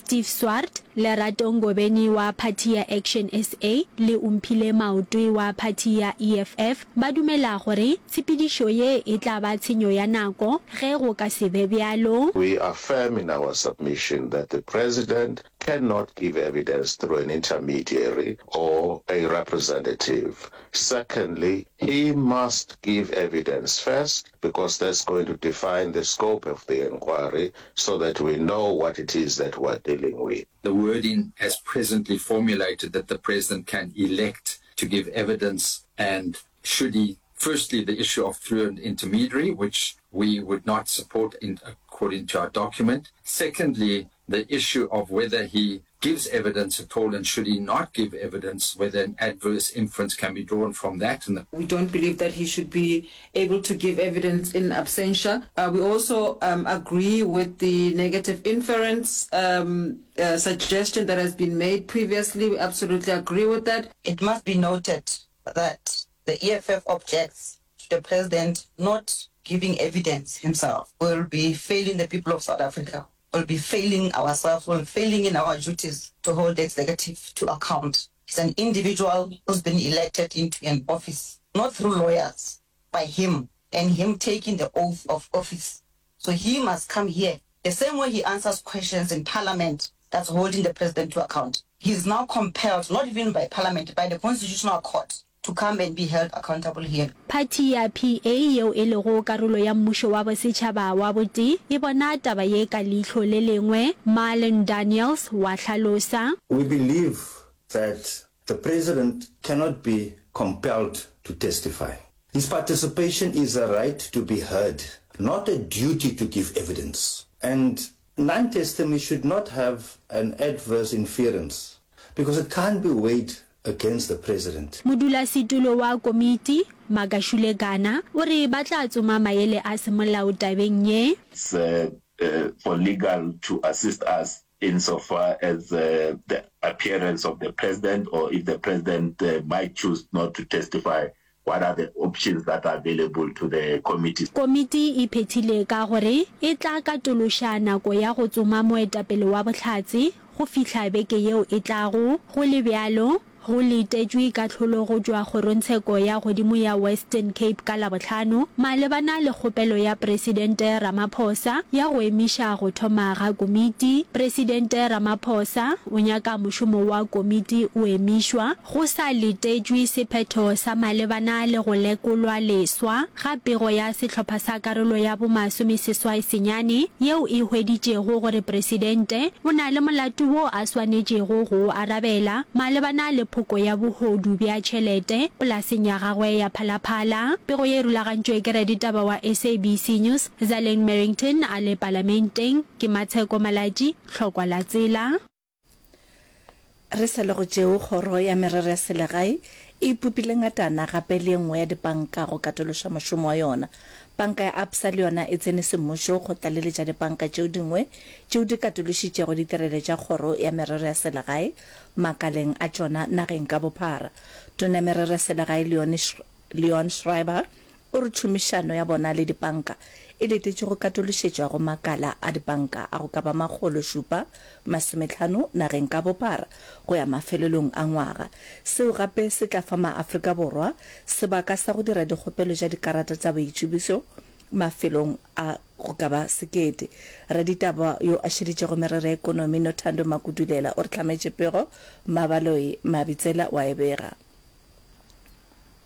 Steve Swart, Lerato Ngobeni wa phathi ya Action SA le Omphile Maotwe wa phathi ya EFF ba dumela gore tshepedišo ye e tla ba tshenyo ya nako ge go ka se be bjalo. We are firm in our submission that the President cannot give evidence through an intermediary or a representative. Secondly, he must give evidence first because that's going to define the scope of the inquiry so that we know what it is that we're dealing with. The wording as presently formulated that the president can elect to give evidence and should he firstly the issue of through an intermediary which we would not support in according to our document secondly the issue of whether he gives evidence at all and should he not give evidence whether an adverse inference can be drawn from that and the We don't believe that he should be able to give evidence in absentia. Uh, we also um, agree with the negative inference um, uh, suggestion that has been made previously. We absolutely agree with that. It must be noted that the EFF objects to the president not giving evidence himself. We'll be failing the people of South Africa. We'll be failing ourselves. We'll be failing in our duties to hold the executive to account. He's an individual who's been elected into an office, not through lawyers, by him, and him taking the oath of office. So he must come here. The same way he answers questions in parliament that's holding the president to account. He's now compelled, not even by parliament, by the constitutional court, to come and be held accountable here. Phathi ya PA yeo e lego karolo ya mmušo wa bosetšhaba wa botee e bona taba ye ka leihlo le lengwe, Marlon Daniels wa hlalosa. We believe that the president cannot be compelled to testify. His participation is a right to be heard, not a duty to give evidence. And non-testimony should not have an adverse inference because it can't be weighed against the president. Modulasetulo wa komiti, Magashule Gana, o re ba tla tsoma maele a semolao tabeng ye. It's for legal to assist us in so far as the appearance of the president or if the president might choose not to testify, what are the options that are available to the committee. Komiti e phethile ka gore e tla katološa nako ya go tsoma moetapele wa bohlatse go fihla beke yeo e tlago. Go le bjalo, go letetšwe kahlolo go tšwa Kgorongtsheko ya Godimo ya Western Cape ka Labohlano malebana le kgopelo ya Presidente Ramaphosa ya go emiša go thoma ga komiti. Presidente Ramaphosa o nyaka mošomo wa komiti o emišwa Go sa letetšwe sephetho sa malebana le go lekolwa leswa ga pego ya sehlopha sa karolo ya bomasomeseswai senyane yeo e hweditšego gore presidente o na le molato wo a swanetšego go o arabela malebana le phoko ya bohodu bja tšhelete polaseng ya gagwe ya Phalaphala. Pego ye e rulagantšwe ke raditaba wa SABC News, Zaleng Merrington a le Palamenteng. Ke Matsheko Malatji, Tlhokwa la Tsela. Re sa le go tšeo, Kgoro ya Merero ya Selegae e ipopile ngatana gape le ye nngwe ya dipanka go katološa mošomo wa yona. Panka ya Absa le yona e tsene semmušo go tlaleletša dipanka tšeo dingwe tšeo di katološitšego ditirelo tša Kgoro ya Merero ya Selegae makaleng a tšona nageng ka bophara. Tona ya Merero ya Selegae Leon Schreiber O re tšhomišano ya bona le dipanka e letetše go katološetšwa go makala a dipanka a go ka ba 750 nageng ka bophara go ya mafelelong a ngwaga. Seo gape se tla fa maAfrika Borwa sebaka sa go dira dikgopelo tša dikarata tša boitsebišo mafelong a go ka ba sekete. Raditaba yo a šeditšego merero ya ekonomi Nothando Makudulela o re hlametše pego, Mabaloi Mabitsela o a e bega.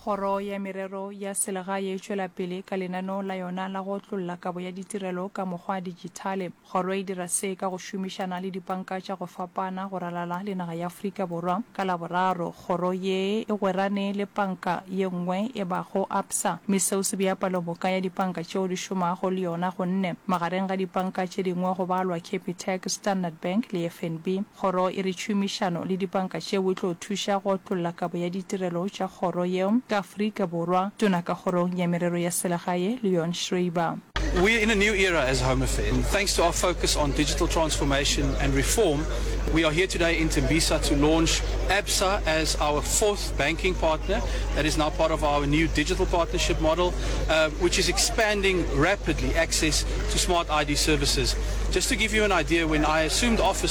Kgoro ya Merero ya Selegae e tšwela pele ka lenaneo la yona la go otlolla kabo ya ditirelo ka mokgwa wa dijithale. Kgoro e dira se ka go šomišana le dipanka tša go fapana go ralala le naga ya Afrika Borwa. Ka Laboraro, kgoro ye e gwerane le panka ye nngwe e bago Absa, mme seo se bea palomoka ya dipanka tšeo di šomago le yona go nne. Magareng ga dipanka tše dingwe go balwa Capitec, Standard Bank le FNB. Kgoro e re tšhomišano le dipanka tšeo e tlo thuša go otlolla kabo ya ditirelo tša kgoro yeo ka Afrika Borwa, Tona ka Kgorong ya Merero ya Selegae, Leon Schreiber. We're in a new era as Home Affairs. Thanks to our focus on digital transformation and reform, we are here today in Tembisa to launch Absa as our fourth banking partner that is now part of our new digital partnership model, uh, which is expanding rapidly access to smart ID services. Just to give you an idea, when I assumed office.